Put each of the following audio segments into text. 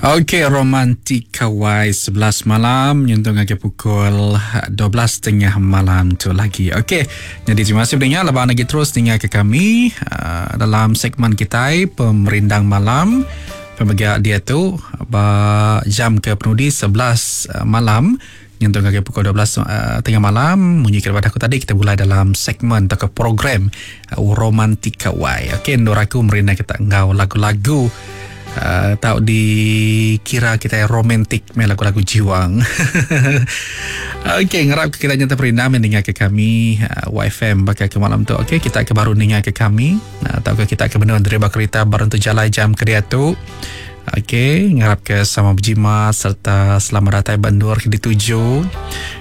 Okey Romantika Y 11 malam nyentuk ngagai pukul 12.30 malam tu lagi. Okey, jadi terima kasih pendengar lepas lagi terus dengar ke kami uh, dalam segmen kita Pemerindang Malam. Pemega dia tu ba jam ke penudi 11 uh, malam nyentuk ngagai pukul 12 uh, tengah malam munyi ke aku tadi kita mulai dalam segmen atau ke program uh, Romantika Y. Okey, endur aku merindang kita enggau lagu-lagu Uh, tau dikira kita romantik main lagu-lagu jiwang. Okey, ngarap kita nyata perintah mendengar ke kami uh, YFM bakal ke malam tu. Okey, kita ke baru dengar ke kami uh, atau ke kita ke benar daripada kereta baru tu jalan jam ke dia tu. Okey, ngarap ke sama berjimat serta selamat datang bandur ke dituju.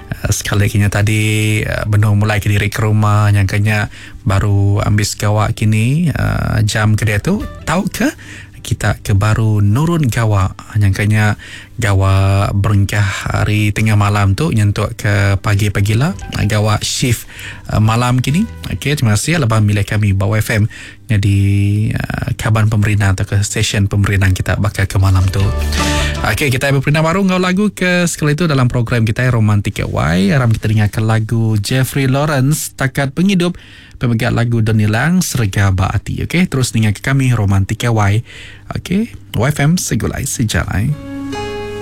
Uh, sekali kini tadi uh, benar mulai ke diri ke rumah yang kenya baru ambil segawak kini uh, jam ke dia tu tahu ke kita ke baru nurun gawa nyangkanya gawa berengkah hari tengah malam tu nyentuk ke pagi-pagi lah gawa shift uh, malam kini. Okey, terima kasih lepas milih kami Bau FM jadi uh, kaban pemerintah atau ke stesen pemerintah kita bakal ke malam tu. Okey, kita berperintah baru ngau lagu ke sekali itu dalam program kita Romantik Y. Aram kita dengarkan lagu Jeffrey Lawrence Takat Penghidup pemegang lagu Donilang Serga Baati. Okey, terus dengar ke kami Romantik Y. Okey, YFM Segulai Sejalai.